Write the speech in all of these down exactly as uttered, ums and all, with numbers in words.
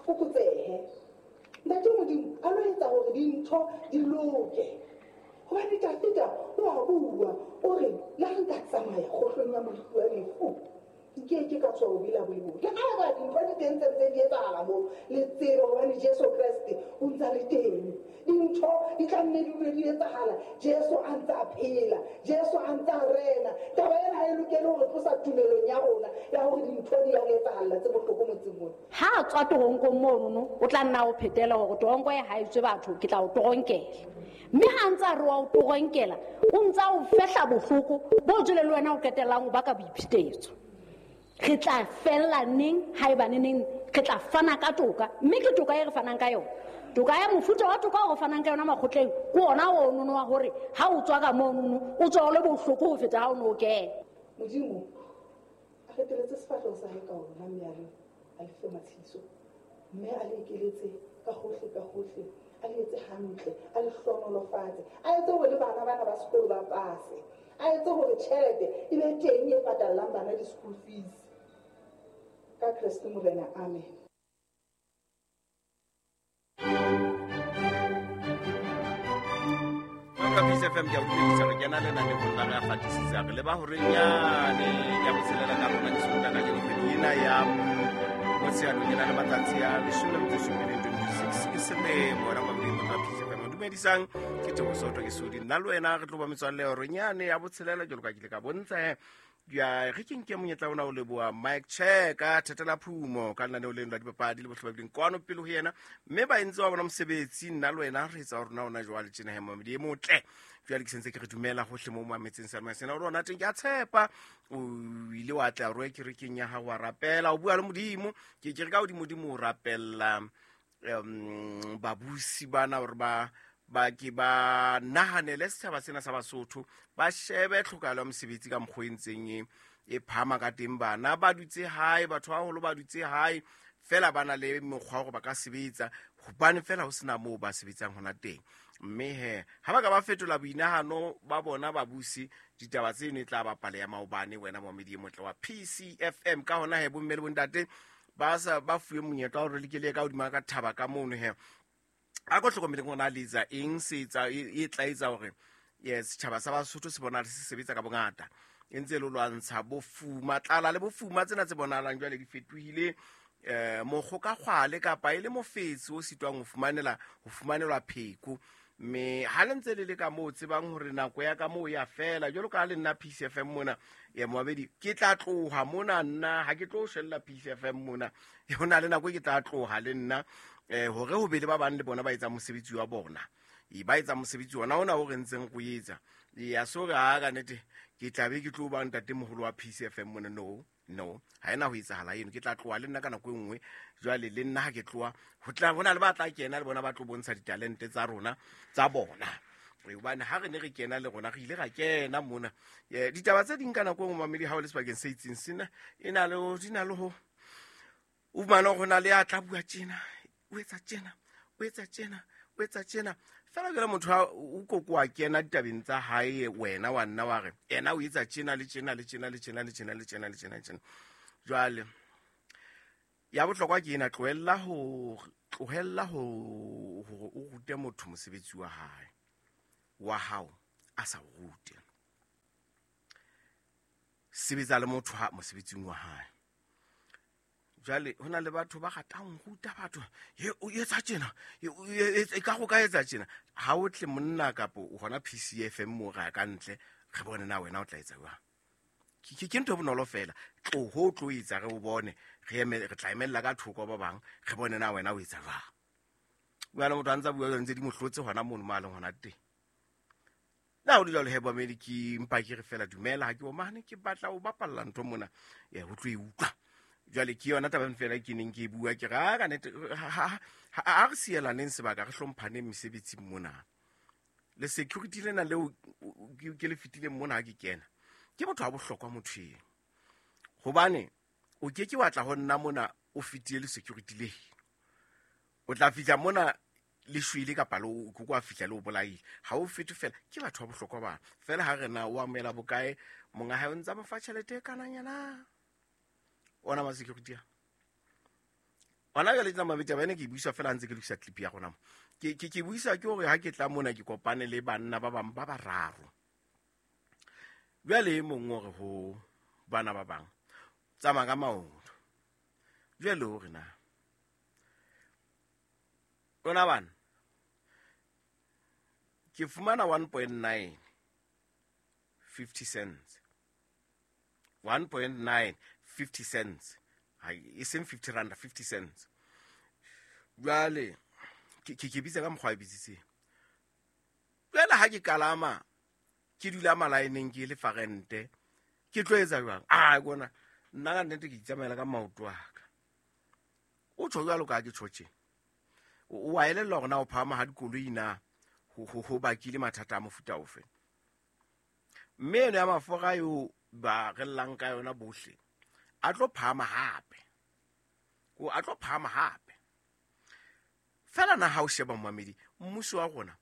fokotsehe. Ntate Modimo a lo etsa hore dintho di loke. Hobane Dafida o a bua, o re le ha nka tsamaya kgohlong ya mofu wa lefu, ke ke ka tswa o bila boibo. Le ha ba dintho di teng tse ntse di etsahala moo, le tsebe hobane Jesu Kreste o ntsa le teng. Dintho di tla nne di dule di etsahala, Jesu a ntse a phela, Jesu a ntse a rena. Taba ena ha e lokele hore tlosa tumelong ya rona ya hore dintho di ya re etsahalla tse bohloko motseng mona. Ha a tswa toronkong monono, o tla nna o phetela hore toronko e ha e tswe batho, ke tla o toronkela. Mme ha ntse a re wa o toronkela, o ntse a o fehla bohloko bo jwale le wena o qetellang o baka boiphetetso. Re tla fella neng haeba neneng re tla fana ka toka, mme ke toka e re fanang ka yona. Toka ya mofuta wa toka o re fanang ka yona makgotleng ke ona o nono wa hore ha o tswa ka monono o tswa o le bohloko ho feta ha o no kena. Modimo a reteletse sefahleho sa hae ka ona, mme a le a le fe matshediso, mme a le ekeletse ka hohle ka hohle, a le etse hantle, a le hlohonolofatse, a etse hore le bana bana ba sekolo ba pase, a etse hore tjhelete e be teng e patallang bana di-school fees. Ka Kreste Morena, amen. Ka P C F M ke a utlwisisa re kena lenanehong la re a fatisisa re leba horeng yane ya botshelela ka rona ke Sontaha kajeno kgwedi ena ya Motsheanong e na le matsatsi a leshome le metso e supileng twenty-six ke selemo. Wena mamedi motho wa P C F M dumedisang ke Thabo Soto ke Sodi nna le wena re tlo ba metswalle horeng yane ya botshelela jwalo ka ke ile ka bontsha he. Ya re ke nke monyetla ona o leboha Mike Check Thetela Phumo ka lenaneo leno la dipapadi le bohle ba bileng kwano pele ho yena, mme ba entse wa bona mosebetsi. Nna le wena re etsa rona ona jwale tjena he mamedi e motle. Jwale ke sentse ke re dumela hohle moo mo ametseng sa sena o rona teng. Ke a tshepa o ile wa tla roe kerekeng ya hao wa rapela, o bua le Modimo. Ke ke re ka hodimo Modimo o rapella um babusi bana hore ba ba ke ba nahanele setjhaba sena sa Basotho, ba shebe tlhokahalo ya mosebetsi ka mokgwa e ntseng e e phahama ka teng. Bana ba dutse hae, batho ba baholo ba dutse hae fela ba na le mokgwa wa hore ba ka sebetsa hobane fela ho sena moo ba sebetsang hona teng. Mme he ha ba ka ba fetola boinahano ba bona babusi, ditaba tseno e tla ba pale ya maobane. Wena momedi e motle wa P C F M, ka hona he bomme le bontate ba sa ba fuwe monyetla wa hore le ke le ka hodima ka thaba ka mono he. A ko hlokomeleng hore na le etsa eng se etsa e tla etsa hore yes setjhaba sa Basotho se bonahale se sebetsa ka bongata, e ntse le lwantsha bofuma, tlala le bofuma tsena tse bonahalang jwale di fetohile eh mokgokakgwale kapa e le mofetsi o sitwang ho fumanela ho fumanelwa pheko. Mme ha le ntse le le ka moo tsebang hore nako ya ka moo ya fela jwalo ka ha le nna P C F M mona ya moabedi, ke tla tloha mona nna ha ke tlo shella P C F M mona, ho na le nako e ke tla tloha le nna eh hore ho be le ba bang le bona ba etsa mosebetsi wa bona, e ba etsa mosebetsi ona ona o re ntseng go etsa. Ya so re ha ka nnete ke tla be ke tlo ba ntate moholo wa P C F M mona, no no ha ena ho etsahala eno, ke tla tloha le nna ka nako e nngwe. Jwale le nna ha ke tloha ho tla hona le ba tla kena le bona ba tlo bontsha ditalente tsa rona tsa bona, hobane ha re ne re kena le rona re ile ra kena mona. Ditaba tse ding ka nako e nngwe mamedi ha o le sebakeng se itseng sena e na le di na le ho o fumana hore na le ya tla bua tjena, o etsa tjena, o etsa tjena, o etsa tjena fela jwale motho ha o koko wa kena ditabeng tsa hae, wena wa nna wa re ena o etsa tjena le tjena le tjena le tjena le tjena le tjena le tjena le tjena. Jwale ya bohlokwa ke ena, tlohella ho tlohella ho hore o rute motho mosebetsi wa hae wa hao a sa o rute. Sebetsa le motho ha mosebetsing wa hae. Jwale ho na le batho ba ratang ho ruta batho, he o etsa tjena, e ka go ka etsa tjena. Ha o tle monna kapa o hona P C F M mo ra ka ntle re bone na wena o tla etsa jwang. Ke ke ntho e bonolo fela, tloho tlo etsa re o bone, re eme re tla emella ka thoko ba bang re bone na wena o etsa jwang. Jwale motho a ntsa bua ntse di mo hlotse hona mono mo a leng hona teng. Na o le jwalo he bomedi, ke mpa ke re fela dumela ha ke o mane ke batla o bapalla ntho mona ya ho tlo e utlwa. Jwale ke yona taba fela ke neng ke e bua, ke re a ka nnete ha re sielaneng sebaka re hlomphaneng mesebetsing mona. Le security lena leo ke le fetileng mona ha ke kena, ke motho wa bohlokwa motho eo, hobane o ke ke wa tla ho nna mona o fetile le security le, o tla fihla mona le shwele kapa le o kwa fihla le o bolaile, ha o fete fela. Ke batho ba bohlokwa ba fela ha re na o amohela bokae monga hae o ntsa mo fa tjhelete e kananyana ona ma security a Hona jwale tla mabedi taba ena ke buisa fela ntse ke lokisa clip ya rona mo. Ke ke ke buisa ke hore ha ke tla mona ke kopane le banna ba bang ba bararo. Jwale e mong o re ho bana ba bang tsamaya ka maoto. Jwale o re na lona bana ke fumana one point nine fifty cents. one point nine fifty cents. E seng fifty rand, fifty cents. Jwale ke ke bitsa ka mokgwa e bitsitseng. Jwale ha ke kalama ke dula malaeneng ke le farente ke tlo etsa jwang? Ah bona nna ka nnete ke itsamaela ka maoto a ka. O tjho jwalo ka ke tjho tje. O a elellwa hore na o phahama ha dikoloi na ho ho ho bakile mathata a mofuta ofe. Mme eno ya mafura eo ba rellang ka yona bohle a tlo phahama hape. O a tlo phahama hape. Fela na ha o sheba momamedi mmuso wa rona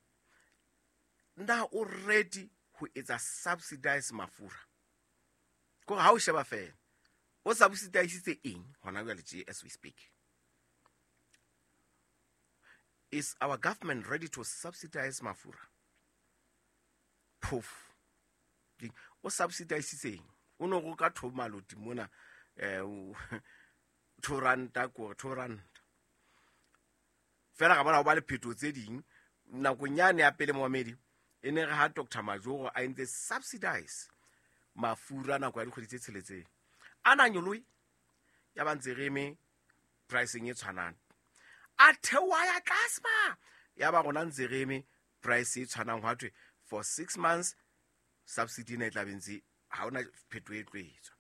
na o ready ho etsa subsidize mafura. Ko ha o sheba fela o subsidize eng hona jwale tje as we speak. Is our government ready to subsidize mafura? Poof. O subsidize eng? O no go ka thoma loti mona eh two ranta ko two ranta. Fela ga bona o ba le phetho tse ding nakong yane ya pele momamedi e ne re ha Doctor Majoro a entse subsidize mafura nako ya dikgwedi tse tsheletseng. A na nyoloe ya ba ntse re eme pricing e tshwanang. A theoha ya tlase ma ya ba rona ntse re eme price e tshwanang hwa thwe for six months subsidy ne tla bentse ha ona phetho e tlo etswa.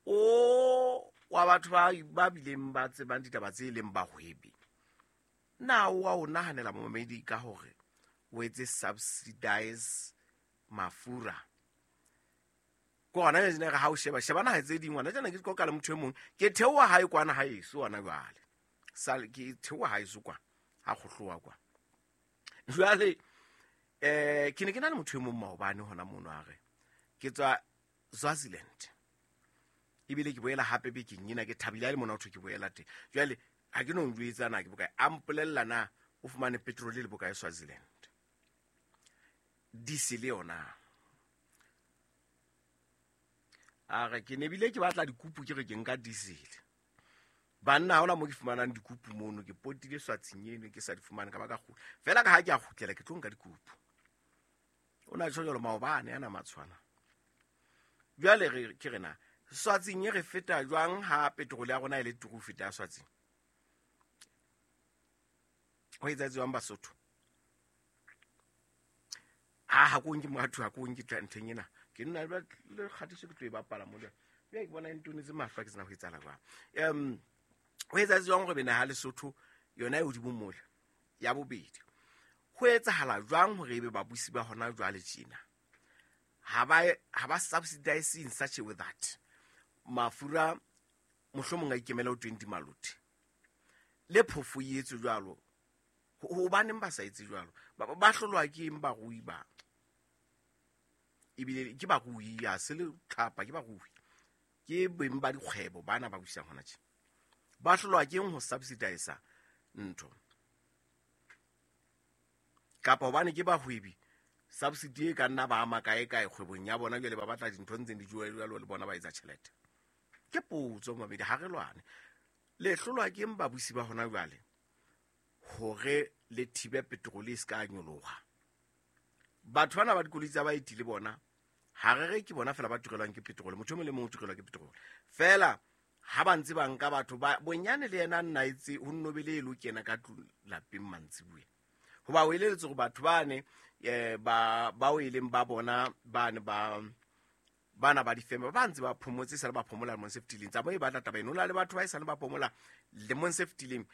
O wa batho ba ba bileng ba tsebang ditaba tse leng bahwebi. Na o a o nahanela momamedi ka hore o etse subsidize mafura. Ko hona jwale re ha o sheba sheba naha tse ding ngwana jana ke qoqa le motho e mong ke theoha hae kwana ha eso hona jwale. Sal ke theoha hae so kwa ha kgohlowa kwa. Jwale eh ke ne ke na le motho e mong maobane hona mono a re ke tswa Swaziland. Ebile ke boela hape bekeng ena ke thabile le mona ho thwe ke boela teng. Jwale ha ke no njwetsa na ke bokae a mpolella na o fumane petrol le bokae Swaziland. Diesel yona. A re ke ne bile ke batla dikupu ke re ke nka diesel. Banna ha hona mo ke fumanang dikupu mono ke potile Swatsing eno ke sa di fumane ka ba ka kgutla. Fela ka ha ke a kgutlela ke tlo nka dikupu. O na tjho jwalo maobane ana matshwana. Jwale re ke rena Swatsing e re feta jwang ha petrol ya rona e le turu feta Swatsing? Ho etsa jwang Basotho? Ha ha ko nke motho ha ko nke ntheng ena. Ke nna le kgatiso ke tlo e bapala mo le. Jwale ke bona e ntonetse mahlo ke tsena ho etsala jwang. Em ho etsa jwang hore bena ha Lesotho yona e hodimo mole ya bobedi. Ho etsahala jwang hore ebe babusi ba hona jwale tjena? Ha ba ha ba subsidize in such a way that mafura mohlomong a ikemela ho twenty maloti. Le phofo e etswe jwalo. Hobaneng ba sa etse jwalo? Ba hlolwa ke eng barui ba? Ebile ke barui ya se le tlhapa ke barui. Ke beng ba dikgwebo bana ba busang hona tje. Ba hlolwa ke eng ho subsidize ntho? Kapa hobane ke bahwebi subsidy e ka nna ba ama kae kae kgwebong ya bona jwale ba batla dintho ntseng di jowe jwalo le bona ba etsa tjhelete. Ke potso mabedi ha re lwane. Le hlolwa ke eng babusi ba hona jwale hore le thibe petrol e ska nyoloha? Batho bana ba dikoloi tsa baeti le bona ha re re ke bona fela ba turelwang ke petrol, motho e mong le mong o turelwa ke petrol. Fela ha ba ntse ba nka batho ba bonyane le yena nna itse ho nnobele e lo kena ka lapeng mantsibuya. Hoba o eleletse hore batho bane eh ba ba o eleng ba bona bane ba bana ba difeme ba ntse ba phomotse sa le ba phomola lemong se fetileng. Tsa mo e batla taba eno la le batho ba e sa le ba phomola lemong se fetileng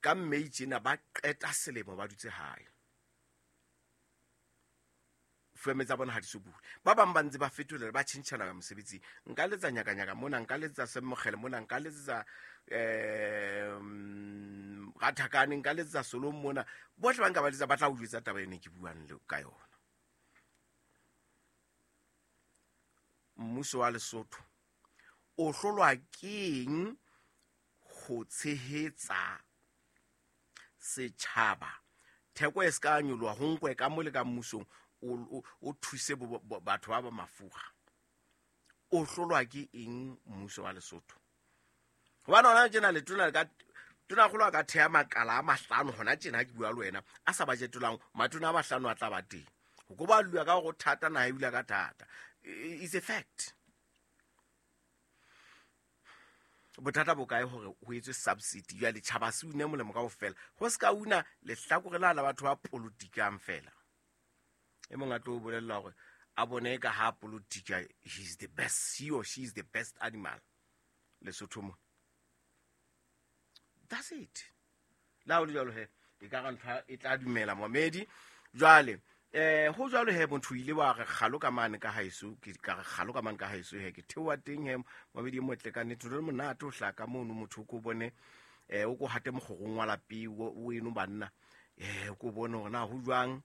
ka May tjena ba qeta selemo ba dutse hae. Feme tsa bona ha di so bule. Ba bang ba ntse ba fetolela ba tjhentjhana ka mosebetsi. Nka letsa nyakanyaka mona, nka letsa Semmogele mona, nka letsa eh Rathakane, nka letsa Solong mona. Bohle ba nka ba letsa ba tla o jwetsa taba eno ke buang le ka yona. Mmuso wa Lesotho o hlolwa keng ho tshehetsa setjhaba theko e se ka nyoloha ho nkwe ka mo le ka mmusong o o thuse batho ba ba mafura o hlolwa ke eng mmuso wa Lesotho hobane hona tjena letona le ka tona kgolo a ka theha makala a mahlano hona tjena ha ke bua le wena a sa bajetelang matona a mahlano a tla ba teng ho ko ba lua ka go thata naha e bula ka thata. It's a fact. Bothata bo kae hore ho etswe subsidy ya letjhaba se une molemo kaofela ho se ka una lehlakore la la batho ba politikang fela e mong a tlo bolella hore a bone ka ha politika he is the best, he or she is the best animal Lesotho mo. That's it. La o le jwalo he e ka re ntho e tla dumela momedi jwale eh ho jwalo he motho ile wa re kgalo ka mane ka haeso ke ka re kgalo ka mane ka haeso he ke theoha teng he mabedi motle ka nnete le monate o hlaka mono motho ko bone eh o ko hate mogorong wa lapi o eno banna eh o ko bone hore na ho jwang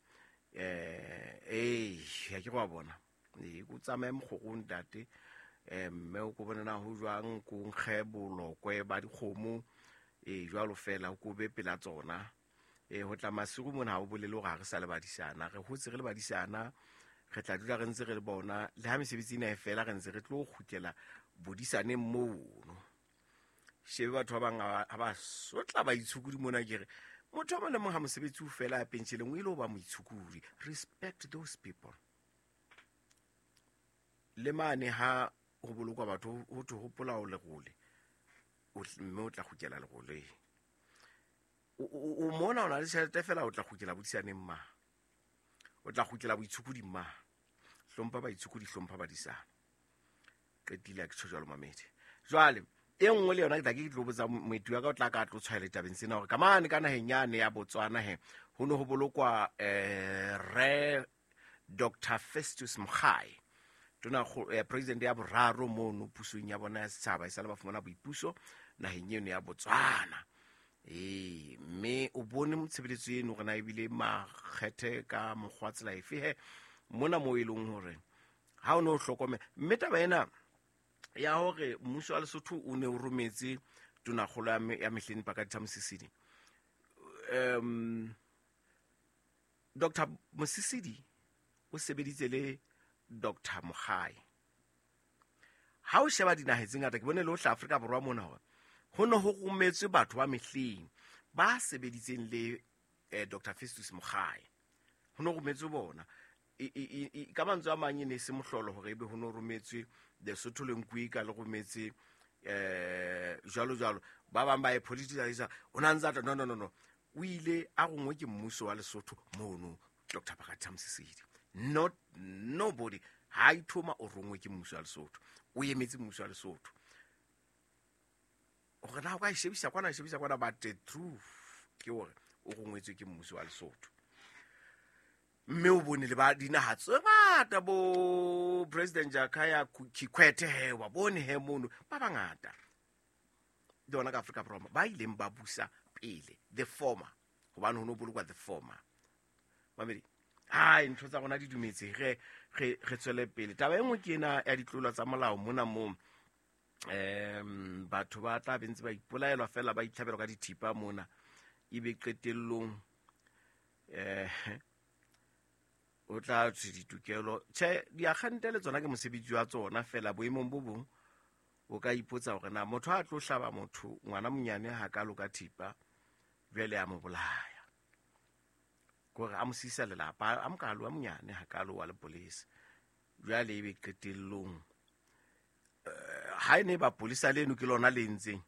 eh eh ya ke go bona e go tsamaye mogorong ntate eh mme o ko bone na ho jwang ko nkge bolokwe ba dikgomo e jwalo fela o ko be pela tsona e ho tla masigo mona ha o bolele hore ha re sa le badisana re hotse re le badisana re tla dula re ntse re le bona le ha mesebetsi ena e fela re ntse re tlo kgutlela bodisaneng mono shebe batho ba bang ha ba sotla ba itshukudi mona ke re motho o mong le mong ha mosebetsi o fela ya pensheleng o ile ho ba moitshukudi. Respect those people. Le mane ha ho bolokwa batho ho thwe hopola o lerole mme o tla kgutlela leroleng o mona o na le tjhelete fela o tla kgutlela bodisaneng ma o tla kgutlela boitshukudi ma hlompha baitshukudi hlompha badisana qetile ke tjho jwalo mamedi jwale e nngwe le yona ke tla ke tlo botsa moeti wa ka o tla ka tlo tshwaela tabeng sena hore ka mane ka naheng yane ya Botswana he ho ne ho bolokwa eh re Doctor Festus Mogae tona president ya boraro mono pusong ya bona ya setjhaba e sale ba fumana boipuso naheng eno ya Botswana. E mme o bone motshebeletso eno rena ebile makgethe ka mokgwa tsela efe he mona mo e leng hore ha o ne o hlokomela mme taba ena ya hore mmuso wa Lesotho o ne o rometse tonakgolo ya mehleng Pakalitha Mosisili um Doctor Mosisili o sebeditse le Doctor Mogae ha o sheba dinaha tse ngata ke bone le ho hla Afrika Borwa mona hore ho ne ho rometswe batho ba mehleng ba sebeditseng le eh, Doctor Festus Mogae ho ne rometswe bona e ka mantswe a mang e ne se mohlolo hore ebe ho ne rometswe Lesotho le Nkuika le rometse eh jwalo jwalo ba bang ba e politicize o na ntsa no no no no o ile a rongwe ke mmuso wa Lesotho mono Doctor Pakalitha Mosisili not nobody ha ithoma o rongwe ke mmuso wa Lesotho o emetse mmuso wa Lesotho hore na o ka shebisa kwana shebisa kwana but the truth ke hore o rongwetswe ke mmuso wa Lesotho mme o bone le ba dinaha tse ngata bo President Jakaya Kikwete he wa bone he mono ba bangata le ona ka Afrika Borwa ba ileng ba busa pele the former hobane ho no bolokwa the former mamedi ai ntho tsa rona di dumetse re re re tswele pele taba e nngwe ke ena ya ditlolo tsa molao mona mo em batho ba tla bentse ba ipolaelwa fela ba itlhabelwa ka dithipa mona ebe qetellong eh o tla tswe ditokelo tjhe diakgante le tsona ke mosebetsi wa tsona fela boemong bo bong o ka ipotsa hore na motho a tlo hlaba motho ngwana monyane ha ka loka thipa jwale a mo bolaya kore a mo sisa lelapa a mokalo a monyane ha ka lo wa le police jwale ebe qetellong ha ene ba polisa leno ke lona le ntseng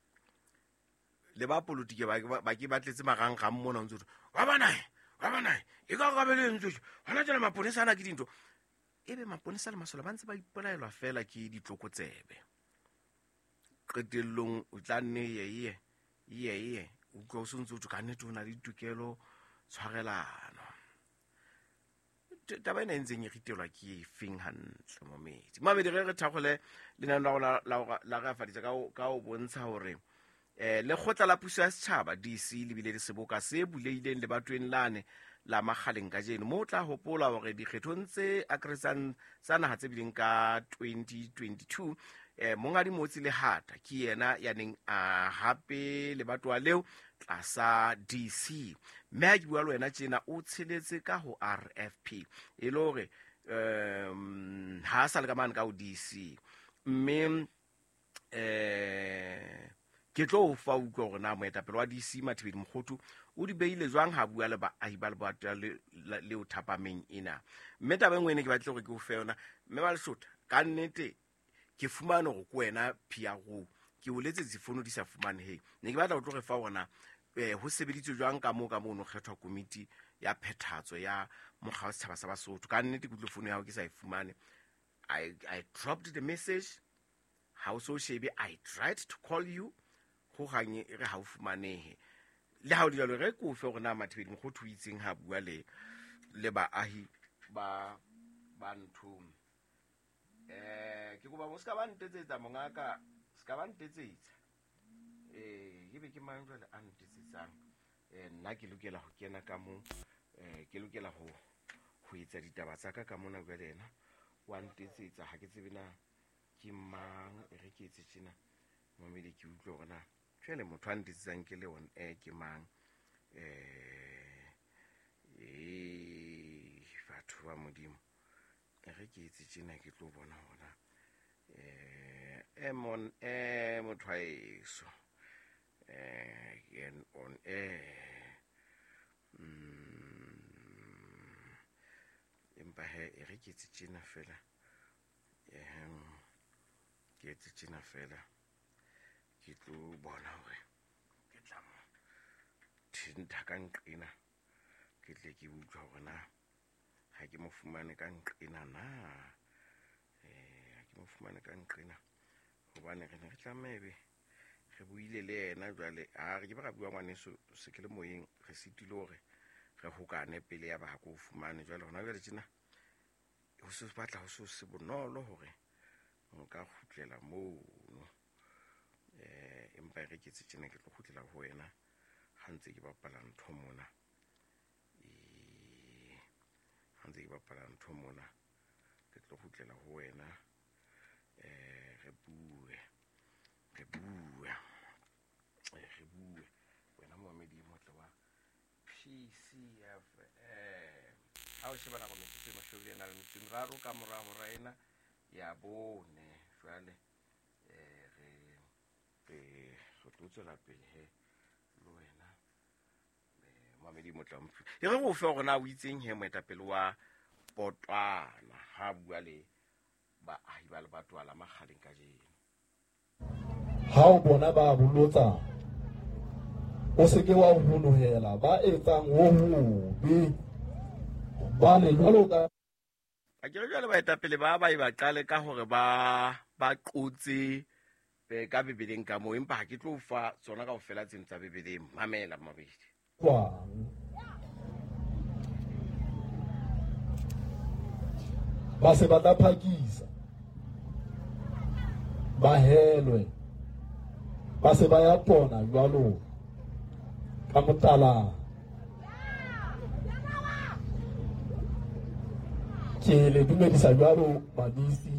le ba politike ba ba ke ba tletse marangrang mona ntse wa bana wa bana e ka ka bele ntse hona tjena maponesa ana ke dintho ebe maponesa le masole ba ntse ba ipolaelwa fela ke ditlokotsebe qetellong o tla nne ye ye ye ye o utlwa o se ntse o ka nnete o na le ditokelo tshwarelano taba ena e ntseng e ritelwa ke efeng hantle momedi mamedi re re thakgole lenaneo la rona la re afaditse ka ka o bontsha hore eh lekgotla la puso ya setjhaba D C le bile le seboka se buleileng lebatoweng lane la Makgaleng kajeno mo tla hopola hore dikgethong tse akaretsang tsa naha tse bileng ka twenty twenty-two Eh Monghadi Motsi Lehata ke yena ya neng a hape lebatowa leo tlasa D C. Mme ha ke bua le wena tjena o tsheletse ka ho R F P e le hore um ha sa le ka mane ka ho D C. Mme eh ke tlo o fa utlwa hore na moetapele wa D C Mathibeli Mokhothu o di beile jwang ha bua le baahi ba lebatowa leo thapameng ena. Mme taba e nngwe ene ke batle hore ke o fe yona mme ba Lesotho ka nnete ke fumane hore ke wena P R O ke o letsetse fono di sa fumaneheng. Ne ke batla ho tlo re fa hore na eh ho sebeditswe jwang ka moo ka moo no kgethwa komiti ya phethahatso ya mokga wa setjhaba sa Basotho. Ka nnete ke utlwe fono ya hao ke sa e fumane. I I dropped the message. Ha o so shebe, I tried to call you. Ho hang e re ha o fumanehe. Le ha o le jwalo re ko fe hore na Mathibeli Mokhothu o itseng ha bua le le baahi ba ba nthong. Eh ke kopa mo ska ba ntetsetsa mongaka, ska ba ntetsetsa. Eh ebe ke mang jwale a ntetsetsang? Eh nna ke lokela ho kena ka mo, eh ke lokela ho ho etsa ditaba tsa ka ka mona jwale yena wa ntetsetsa ha ke tsebe na ke mang e re ke etse tjena. Mamedi ke utlwe hore na jwale motho a ntetsetsang ke le on air ke mang. Eh eh batho ba Modimo e re ke etse tjena ke tlo bona hona eh emon eh motho a eso eh en on air mm empa he e re ke etse tjena fela eh ke etse tjena fela ke tlo bona hore ke tla mo thinta ka nqena ke tle ke utlwa hore na ha ke mo fumane ka nqena na eh ha ke mo fumane ka nqena hobane re ne re tlamebe re buile le yena jwale ha re ke ba ra bua ngwaneso se ke le moyeng re sitile hore re hokane pele ya ba ha ko fumane jwale hona jwale tjena ho se batla ho se se bonolo hore nka kgutlela mono eh empa re ke tjena ke tlo kgutlela ho wena ha ntse ke bapala ntho mona eh ha ntse ke bapala ntho mona ke tlo kgutlela ho wena eh re bue re bue re bue wena momedi motle wa P C F M. Ha o sheba nako metsotso e mashome a na le metso e meraro ka mora hora ena ya bone jwale eh re re re tlo tswela pele he le wena eh momedi motle wa mphi e re go fe hore na o itseng he moetapele wa Potwana ha bua le baahi ba lebatowa la Makgaleng kajeno. Ha o bona ba bolotsa o se ke wa honohela ba etsang ho hobe ba le jwalo ka a ke re jwale baetapele ba ba e ba qale ka hore ba ba qotse ka Bibeleng ka moo empa ha ke tlo fa tsona kaofela tseno tsa Bibeleng. Mamela mabedi kwang ba se ba tla phakisa ba helwe ba se ba ya pona jwalo ka motala. Ke le dumedisa jwalo madisi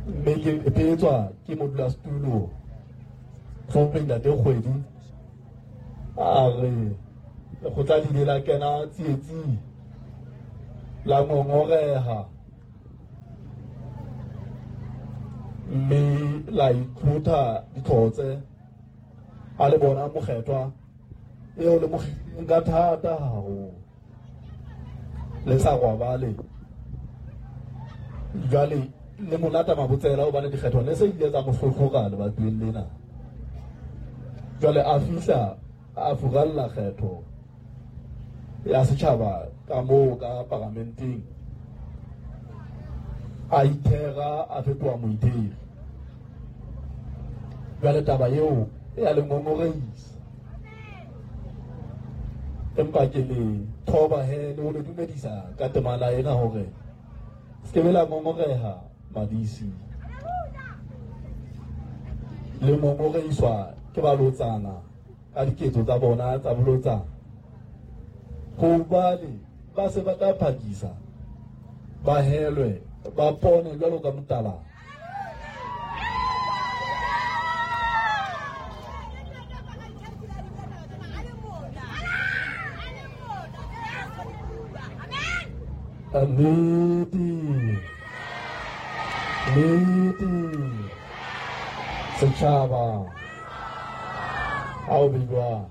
mme ke epetswa ke modulasetulo Tlhomphe Ntate Kgwedi a re lekgotla le ile la kena tsietsing la ngongoreha mme la itlhotha ditlhotse a le bona mokgethwa eo le mokgetheng ka thata haholo le sa robale jwale le monata mabotsela hobane dikgetho ne se ile tsa mo hlohloka lebatoweng lena. Jwale a fihla a furalla kgetho ya setjhaba ka moo ka paramenteng a ithera a fetoha moitheri. Jwale taba eo e a le ngongoreisa empa ke le thoba he le ho le dumedisa ka temana ena hore se ke be la ngongoreha madisi le ngongoreiswa ke balotsana ka diketso tsa bona tsa bolotsana hobane ba se ba tla phakisa ba helwe ba pone jwalo ka motala. Nnete, nnete, setjhaba ha o beiwa.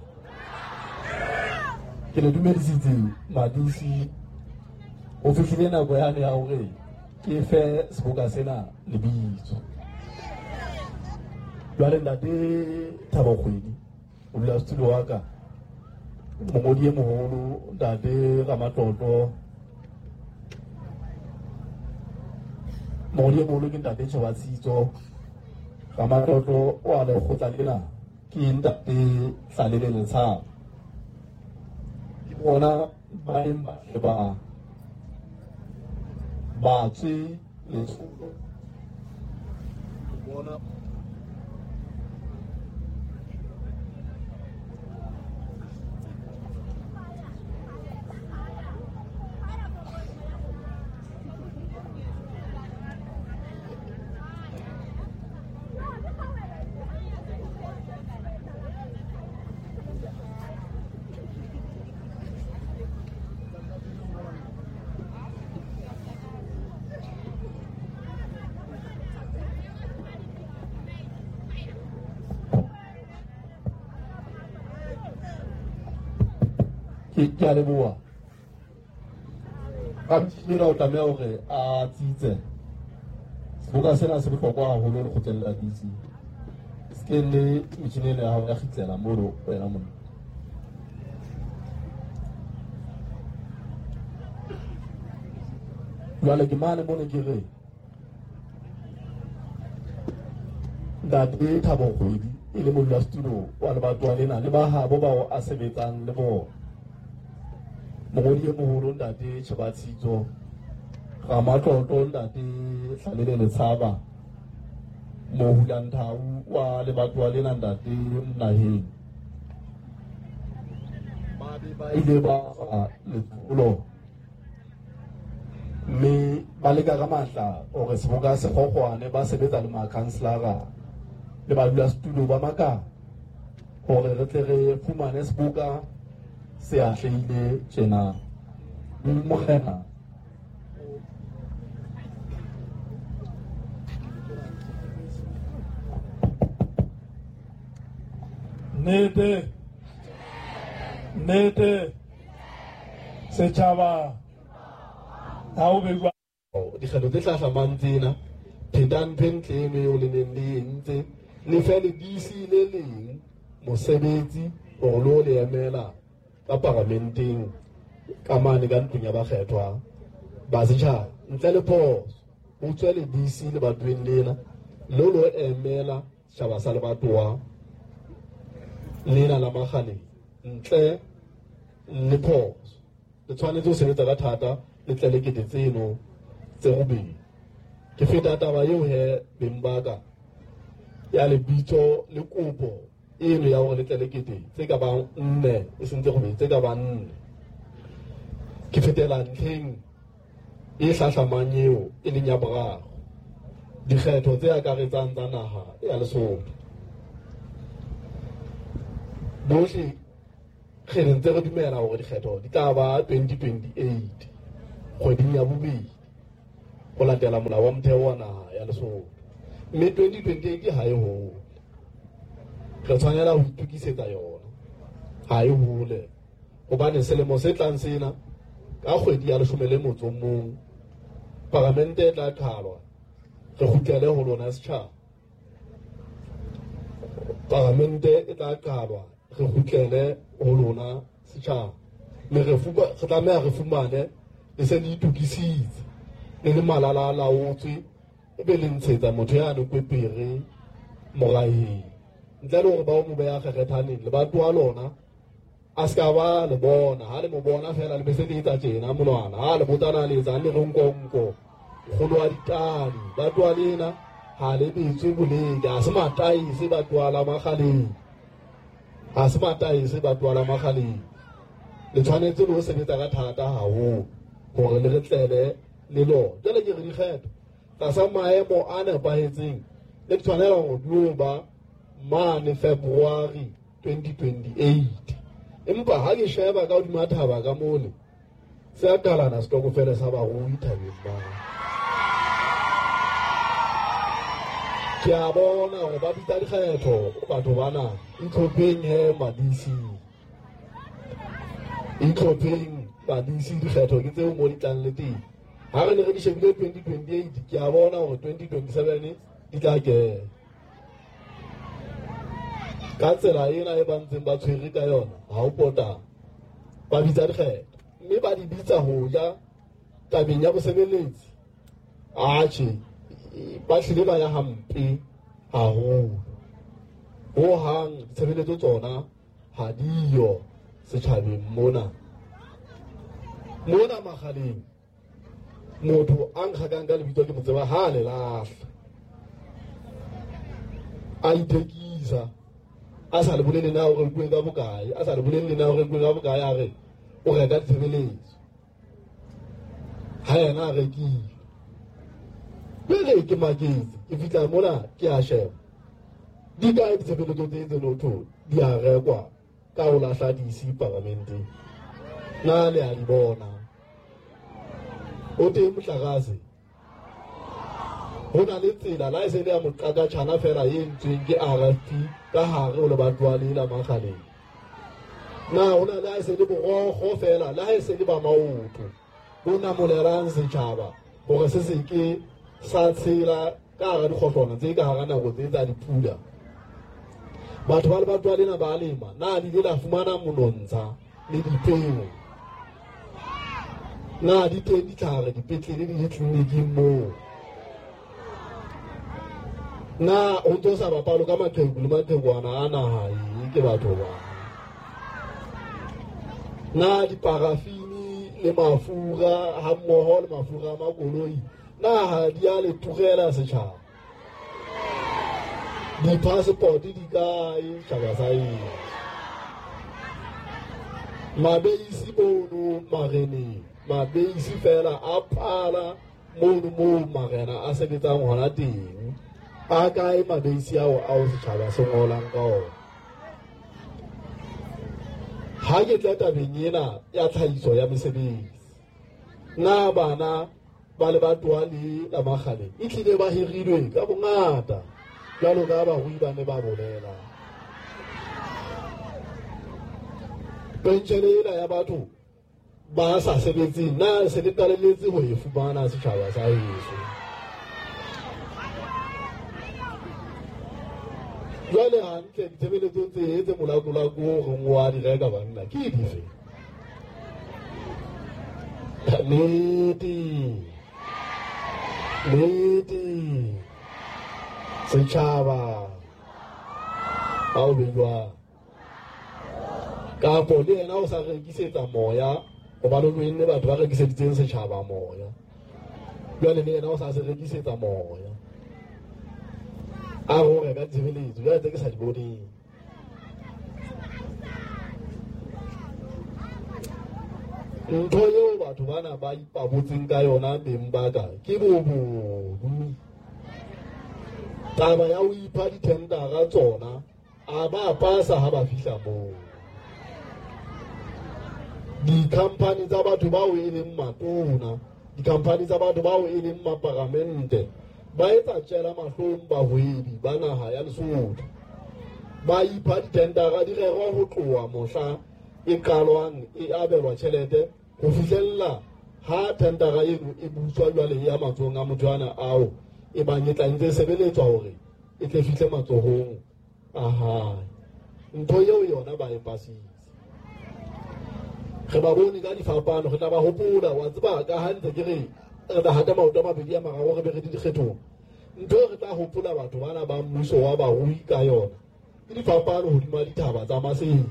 Ke le dumedisitse Madisi, o fihlile nako yane ya hore ke fe seboka sena lebitso. Jwale ntate Thabo Kgwedi, o dula setulo wa ka, mongodi e moholo ntate Ramatlotlo, mongodi e moholo ke ntate Tjhebatshitso, Ramatlotlo wa lekgotla lena ke ntate Hlalele Letshaba. Ke bona ba neng ba ba ba tswe letsholo, ke bona ke a leboha. Ramtjira o tlameha hore a tsitse. Seboka sena se bohlokwa haholo lekgotleng la D C. Se ke le metjhini ena ya hao ya kgitlela mono wena monna. Jwale ke mane mone ke re ntate Thabo Kgwedi e le modulasetulo wa lebatowa lena le ba habo bao a sebetsang le bona, mongodi e moholo ntate Tjhebatshitso, Ramatlotlo ntate Hlalele Letshaba, Mohulanthau wa lebatowa lena ntate Naheng, ba be ba ile ba letsholo mme ba leka ka matla hore seboka se kgokgwane, ba sebetsa le makhanselara le badulasetulo ba makala hore re tle re fumane seboka se atlehile tjena. Morena Nnete, nnete, setjhaba ha o beiwa. Dikgetho tse hlahlamang tsena, phetang ntho e ntle eno eo le neng le entse, le fe le D C le leng mosebetsi hore le o le emela ka paramenteng ka mane ka ntlong ya bakgethwa ba setjhaba. Ntle le phoso, ho tswe le D C lebatoweng lena le lo emela setjhaba sa lebatowa lena la Makgaleng. Ntle le phoso, le tshwanetse ho sebetsa ka thata le tle le kete tseno tse robedi. Ke feta taba eo he beng ba ka ya lebitso le kopo eno ya hore le tle le kete tse ka bang nne, e seng tse robedi, tse ka bang nne. Ke fetela ntlheng e hlahlamang eo e leng ya boraro, dikgetho tse akaretsang tsa naha ya Lesotho. Bohle re ntse re dumela hore dikgetho di tla ba twenty twenty-eight kgweding ya bobedi ho latela molao wa motheo wa naha ya Lesotho, mme twenty twenty-eight ha e hole. Re tshwanela ho itokisetsa yona, ha e hole, hobane selemo se tlang sena ka kgwedi ya leshome le motso o mong paramente e tla qhalwa, re kgutlele ho lona setjhaba. Paramente e tla qhalwa, re kgutlele ho lona setjhaba, mme re re tlameha re fumane le se le itokisitse le le malala a laotswe, e be le ntshetsa motho yane kwepere moraheng, ntle le hore ba o mo beha kgerethaneng. Lebatowa lona a se ka ba le bona, ha le mo bona feela le be se le etsa tjena monwana, ha le botsana le etsang le re nkonko kgolo wa ditadi. Lebatowa lena ha le betswe boleke, ha se mataese batowa la Makgaleng, ha se mataese batowa la Makgaleng. Le tshwanetse le ho sebetsa ka thata haholo hore le re tlele le lona. Jwale ke re dikgetho tlasa maemo a nepahetseng le tshwanela hore di o ba mane February twenty twenty-eight. Empa ha ke sheba ka hodima thaba ka mole, Se a kalana setokofele sa barui thabeng ba. Ke a bona hore ba bitsa dikgetho batho bana, itlhopheng he ma-D C. Itlhopheng ma-D C, dikgetho ke tseo mo di tlang le teng. Ha re ne re di shebile twenty twenty-eight, ke a bona hore twenty twenty-seven di tla kena. Ka tsela ena e ba ntseng ba tshwere ka yona, ha o pota ba bitsa dikgetho, mme ba di bitsa ho ja tabeng ya bosebeletsi. Atjhe, ba hlile ba ya hampe haholo. Hohang ditshebeletso tsona ha diyo setjhabeng mona. Mona Makgaleng, motho a nkgakang ka lebitso ke mo tseba ha le lahla. A ithekisa, a sa le bolele na o rekuwe ka bokae, a sa le bolele na o rekuwe ka bokae, a re o reka ditshebeletso. Ha yena a rekile. Jwale ke maketse, ke fihla mona ke a sheba. Di kae ditshebeletso tse tse no thwe di a rekwa ka ho lahla D C paramenteng? Na le a di bona? O teng motlakase? Ho na le tsela la e se le ya moqakatjhana fela e entsweng ke R F P ka hare ho lebatowa le la Makgaleng. Na ho na le ha e se le borokgo fela, le ha e se le ba maoto bo namolelang setjhaba hore se se ke sa tshela ka hara dikgohlwana tse ka hara nako tse tsa dipula. Batho ba lebatowa lena ba lema, na le ile la fumana monontsha le dipeo? Na di teng ditlhare dipetlele le ditleliniking moo? Na o ntso sa bapalo ka maqheku le maqhekwana a naha e ke batho ba? Na diparafini le mafura ha mmoho le mafura a makoloi, na ha di a le turela setjhaba? Di-passport di kae setjhaba sa eng? Mabeisi mono mareneng, mabeisi fela a phala mono moo marena a sebetsang hona teng. A kae mabeisi ao ao setjhaba se ngolang ka ona? Ha ke tla tabeng ena ya tlhahiso ya mesebetsi, na bana ba lebatowa le la Makgaleng e tlile ba hirilwe ka bongata jwalo ka barui ba ne ba bolela? Penshene ena ya batho ba sa sebetseng, na se le qalelletse ho e fumana setjhaba sa heso? Jwale hantle ditshebeletso tse tse molakolako o reng wa di reka banna ke dife? Nnete, nnete, setjhaba ha o be jwang? Kapo le yena o sa rekisetsa moya, hobane o enne batho ba rekiseditseng setjhaba moya. Jwale le yena o sa se rekisetsa moya. A ho reka ditshebeletso jwale tse ke sa di boneng. Ntho eo batho bana ba ipabotseng ka yona beng ba ka ke bobodu. Taba ya ho ipha dithendara tsona a ba pasa ha ba fihla moo. Di-company tsa batho bao e leng matona, di-company tsa batho bao e leng maparamente, ba etsa tjela mahlong bahwebi ba naha ya Lesotho. Ba ipha dithendara di rerwa ho tloha mohla e qalwang e abelwa tjhelete ho fihlella ha thendara eno e buswa jwale ya matsohong a motho ana ao e bang e tla ntse sebeletswa hore e tle fihle matsohong a hae. Ntho eo yona ba e pasitse. Re ba bone ka difapano, re tla ba hopola. Wa tseba ka ha ntse ke re re tla hata maoto a mabedi a mararo re be re di dikgethong. Ntho e re tla hopola batho bana ba mmuso wa barui ka yona ke difapano hodima dithaba tsa Maseru.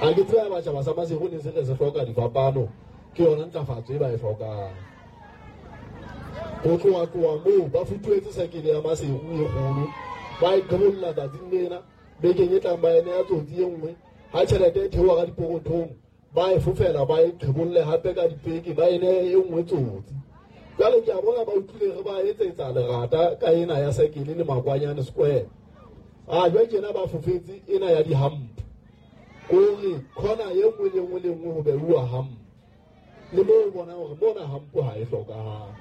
Ha ke tseba batjhaba sa Maseru ne se re se hloka difapano, ke yona ntlafatso e ba e hlokang. Ho tloha tloha moo ba futuhetse sekele ya Maseru e kgolo, ba e qhebolla tsatsing lena, bekeng e tlang ba e neha tsotsi e nngwe. Ha tjhelete e theoha ka dipokothong, ba e fofela ba e qhebolle hape ka dipeke, ba e nehe e nngwe tsotsi. Jwale ke a bona ba utlwile re ba etsetsa lerata ka ena ya sekele le Makwanyane Square. A jwale tjena ba fofetse ena ya dihampo. Kore khona e nngwe le nngwe le nngwe ho beuwa hampo. Le moo o bonang hore mona hampo ha e hlokahale,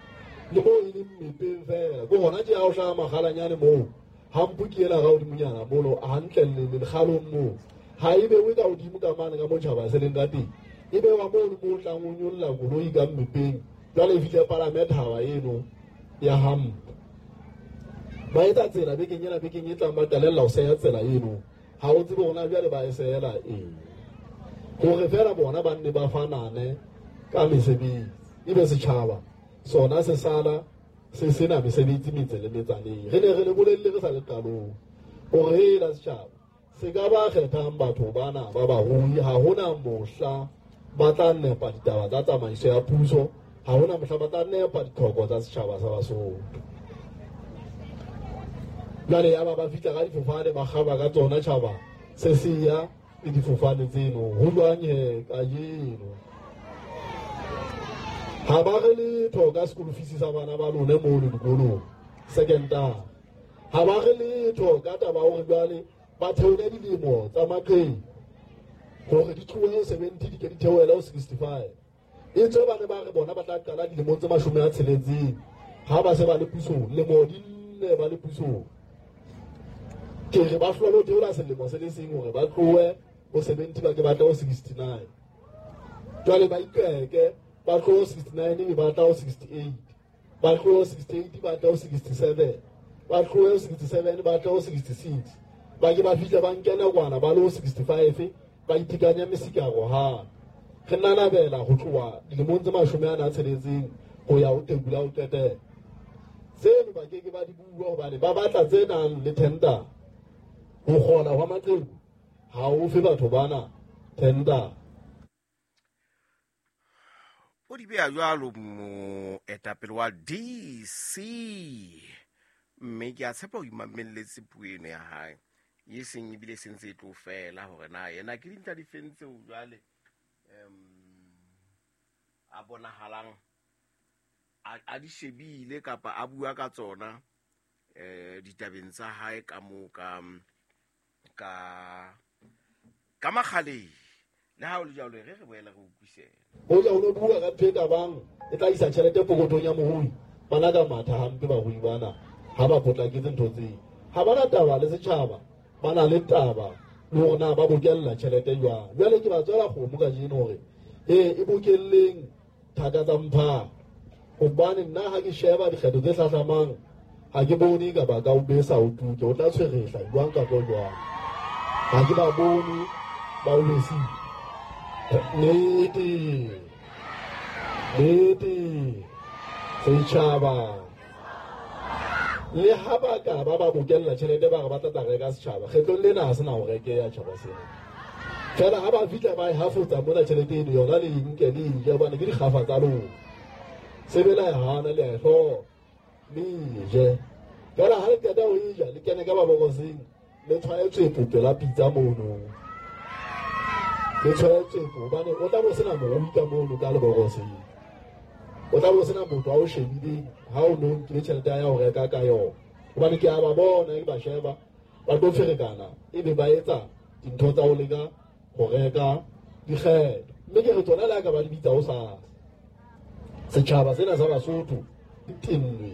le moo e leng mepeng fela ke hona tje ha o hlaha makgalanyane moo hampo ke ela ka hodimonyana mono hantle le lekgalong moo ha e bewe ka hodimo ka mane ka motjhaba se leng ka teng, e bewa moo le moo tlang o nyolla koloi ka mmepeng. Jwale e fihle palame thaba eno ya hampo. Ba etsa tsela bekeng ena, bekeng e tlang ba qalella ho seya tsela eno. Ha o tsebe hore na jwale ba e sehela eng, hore fela bona ba nne ba fanane ka mesebetsi, ebe setjhaba sona se sala se sena mesebetsi metse le metsaneng. Re ne re le bolelle re sa le qalong hore hela setjhaba se ka ba kgethang batho bana ba barui, ha hona mohla ba tla nepa ditaba tsa tsamaiso ya puso, ha hona mohla ba tla nepa ditlhoko tsa setjhaba sa Basotho. Jwale ya ba ba fihla ka difofane ba kgaba ka tsona tjhaba se se ya le difofane tseno. Ho jwang he kajeno? Ha ba re letho ka school fees sa bana ba lone mono dikolong secondary. Ha ba re letho ka taba hore jwale ba theole dilemo tsa maqheku hore di tlohe ho seventy di ke di theohele ho sixty-five. E tswe ba ne ba re bona ba tla qala dilemong tse mashome a tsheletseng ha ba se ba le pusong, lemo di nne ba le pusong. Ke re ba hlola ho theola selemo se le seng hore ba tlohe ho seventy ba ke ba tle ho sixty-nine. Jwale ba iqeke ba tlohe ho sixty-nine ebe ba tla ho sixty-eight, ba tlohe ho sixty-eight ba tla ho sixty-seven, ba tlohe ho sixty-seven ba tla ho sixty-six. Ba ke ba fihla ba nkena kwana ba le ho sixty-five ba itekanya mesikaro hape. Re nanabela ho tloha dilemong tse mashome ana a tsheletseng ho ya ho tekula ho qetela. Tseno ba ke ke ba di bua hobane ba batla tse nang le tender. Ho kgola hwa maqheku ha o fe batho bana tender. O di beha jwalo moetapele wa D C, mme ke a tshepa o imamelletse puo eno ya hae e seng ebile e sentse e tlo fela hore na yena ke dintlha di feng tseo jwale um a bonahalang a di shebile kapa a bua ka tsona eh ditabeng tsa hae ka moo ka ka ka makgaleng. Le ha o le jwalo re re boela re utlwisela. Hoja o no bua ka ntho e ka bang e tla isa tjhelete pokothong ya morui, bana ka matha hampe barui bana ha ba potlaketse ntho tseo. Ha bana taba le setjhaba, ba na le taba le hore na ba bokella tjhelete jwang. Jwale ke ba tswela kgomo kajeno hore e e bokelleng thaka tsa mphato, hobane nna ha ke sheba dikgetho tse hlahlamang ha ke bone ka ba ka o besa o tuke, o tla tshwerehla jwang kapa jwang. Ha ke ba bone ba o besile. Nnete, nnete, setjhaba le ha ba ka ba ba bokella tjhelete ba re ba tla tla reka setjhaba, kgetlong lena ha se na ho rekeha tjhaba sena. Fela ha ba fihla ba e hafotsa mona tjhelete eno yona le nke le e je, hobane ke dikgafa tsa lona. Sebe la e hana le a e hloka, le e je. Fela ha le qeta ho e ja, le kene ka mabokoseng, le tshwaye tswepo pela pitsa mono. Le tshwaye tswepo hobane o tla bo sena morui ka mono ka lebokoseng. O tla bo sena motho a o shebileng ha o no nkile tjhelete ya ho reka ka yona. Hobane ke a ba bona, ke ba sheba, ba tlo ferekana ebe ba etsa dintho tsa ho leka ho reka dikgetho. Mme ke re tsona le ha ka ba di bitsa hosasa. Setjhaba sena sa Basotho di tennwe.